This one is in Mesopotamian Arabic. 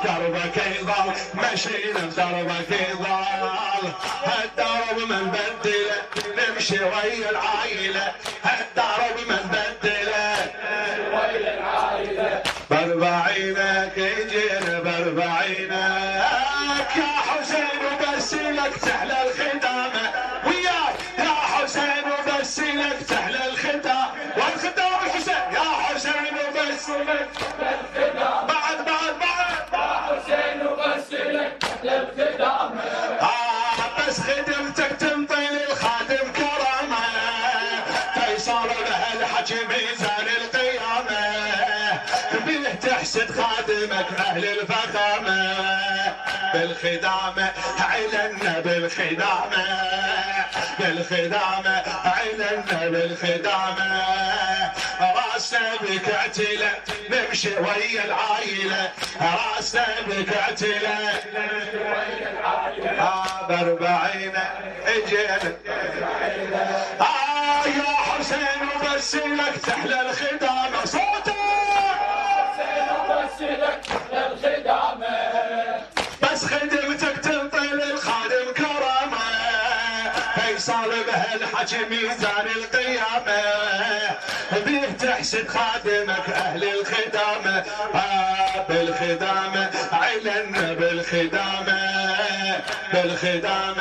دربك يضل مشينا بدربك يضل هالدرب من بدله نمشي ويا العايله هالدرب من بدله ويا العايله باربعينك يجينا باربعينك يا حسين وبس لك تحلى الختامه وياك يا حسين وبس لك تحلى الختام والختام الحسين يا حسين وبس لك تحلى الختام بعد يا حسين وبس لك تحلى الختام بس خدمتك تنطي للخادم كرامه فيصل بهالحكي ميزان القيامه بيه تحسد خادمك اهل الفخامه بالخدامه علنا بالخدامه بالخدامه علنا بالخدامه راسنا بك اعتله نمشي ويا العايله راسنا بك اعتله نمشي ويا العايله باربعينه اجينا يا حسين وبس لك تحلى الخدامه صوتك لك الخدامة بس خدمتك تنطي للخادم كرامة فيصل بهالحكي ميزان القيامة بيه تحسد خادمك أهل الخدامة بالخدامة علنا بالخدامة بالخدامة